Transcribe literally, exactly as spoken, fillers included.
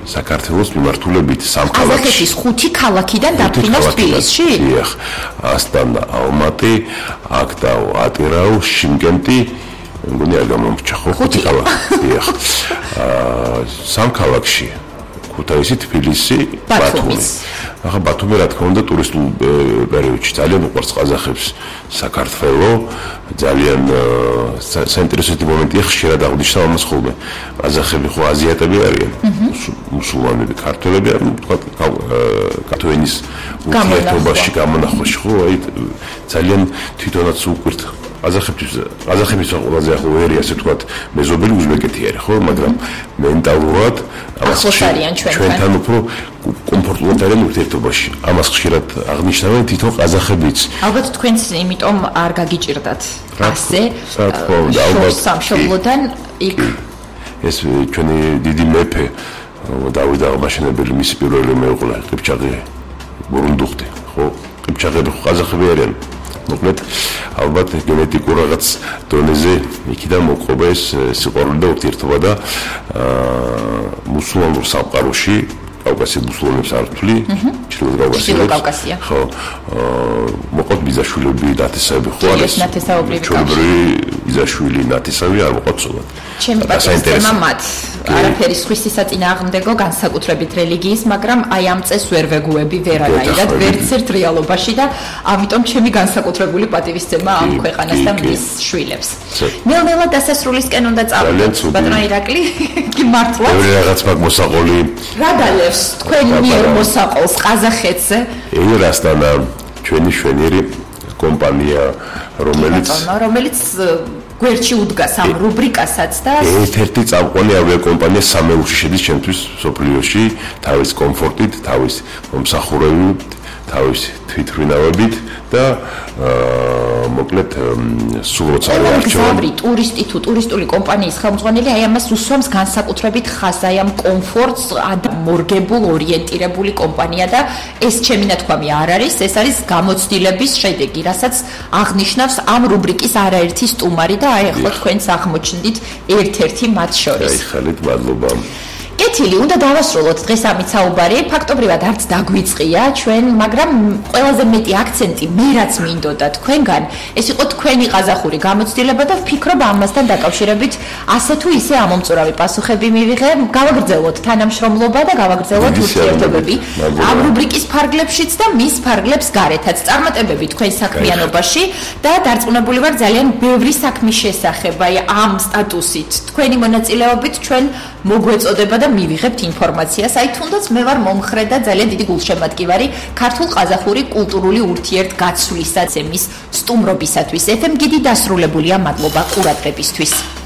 საქართველოს მიმართულებით სამ ქალაქში. ყაზახეთის ხუთი ქალაქიდან დაფრინავს თბილისში? დიახ. ასტანა, ალმატი, აქტაუ, ატირაუ, შიმკენტი, მგონი არ გამომრჩა ხო? ხუთი ქალაქი. დიახ. აა სამ ქალაქში. ქუთაისი, თბილისი, ბათუმი. ახლა ბათუმი რა თქმა უნდა ტურისტულ პერიოდში ძალიან უყვარს ყაზახებს საქართველო, ძალიან საინტერესო მომენტია ხშირად აღნიშნავ ამას ხოლმე. ყაზახები ხო აზიატები არიან, მუსულმანები, ქართველები არ თქვა კათოენის ურთიერთობაში გამონახვაში ხო, აი ძალიან თვითონაც უყვირთ ყაზახებთვის ყაზახების ყველაზე ახო ვერი ასე თქვა მეზობელი უზბეკეთი არის ხო, მაგრამ მენტალურად ამას ჩვენთან უფრო კომფორტულად არიან ურთიერთობაში. ამას ხშირად აღნიშნავენ თვითონ ყაზახებიც. ალბათ თქვენს იმიტომ არ გაგიჭირდათ ასე სამშობლოდან იქ ეს ჩვენი დიდი მეფე დავით აღმაშენებელი მისი პირველი მეუღლე ყიფჩაღი ბურუნდუხტი ხო ყიფჩაღები ყაზახები არიან. მოკლედ ალბათ გენეტიკურ რაღაც დონეზე იქიდან მოყვება ეს სიყვარული და ურთიერთობა და მუსულმანურ სამყაროში კავკასიის მუსულმანებს არ ვთვლი, ჩრდილო კავკასია. ხო, მოყავთ ბიძაშვილები, ნათესავები ხო არის? ჩვეულებრივი ბიძაშვილი, ნათესავი არ მოყავთ სულად. ჩემი პატივისცემა მათ არაფერი სხვისი საწინააღმდეგო განსაკუთრებით რელიგიის, მაგრამ აი ამ წეს ვერ ვეგუები ვერანაირად, ვერც ერთ რეალობაში და ამიტომ ჩემი განსაკუთრებული პატივისცემა ამ ქვეყანას და მის შვილებს. ნელ-ნელა დასასრულისკენ უნდა წავიდეთ, ბატონო ირაკლი, კი მართლა. ბევრი რაღაც მაგ მოსაყოლი. რა დალევს თქვენ მიერ მოსაყოლს ყაზახეთზე? ეირასტანა ჩვენი შვენიერი კომპანია, რომელიც რომელიც გვერდში უდგას ამ რუბრიკასაც და ერთ-ერთი წამყვანი ავიაკომპანია სამეულში შედის ჩემთვის სოფლიოში, თავის კომფორტით, თავის მომსახურებით, თავის თვითმფრინავებით და მოკლედ სულ როცა არჩევი ტურისტი თუ ტურისტული კომპანიის ხელმძღვანელი აი ამას უსვამს განსაკუთრებით ხაზს აი ამ კომფორტს მორგებულ ორიენტირებული კომპანია და ეს ჩემი ნათქვამი არ არის, ეს არის გამოცდილების შედეგი, რასაც აღნიშნავს ამ რუბრიკის არაერთი სტუმარი და აი ახლა თქვენს აღმოჩნდით ერთ-ერთი მათ შორის. აი ხალით მადლობა. კეთილი, უნდა დავასრულოთ დღეს ამით საუბარი. ფაქტობრივად არც დაგვიწყია ჩვენ, მაგრამ ყველაზე მეტი აქცენტი მე რაც მინდოდა თქვენგან, ეს იყო თქვენი ყაზახური გამოცდილება და ვფიქრობ ამასთან დაკავშირებით ასე თუ ისე ამომწურავი პასუხები მივიღე. გავაგრძელოთ თანამშრომლობა და გავაგრძელოთ ურთიერთობები ამ რუბრიკის ფარგლებშიც და მის ფარგლებს გარეთაც. წარმატებები თქვენ საქმიანობაში და დარწმუნებული ვარ ძალიან ბევრი საქმის შესახებ, აი ამ სტატუსით თქვენი მონაწილეობით ჩვენ მოგვეწოდება და მივიღებთ ინფორმაციას. აი თუნდაც მე ვარ მომხრე და ძალიან დიდი გულშემატკივარი ქართულ-ყაზახური კულტურული ურთიერთგაცვლისას, მის სტუმრობისათვის. ეფ ემ გიდი დასრულებულია, მადლობა ყურადღებისთვის.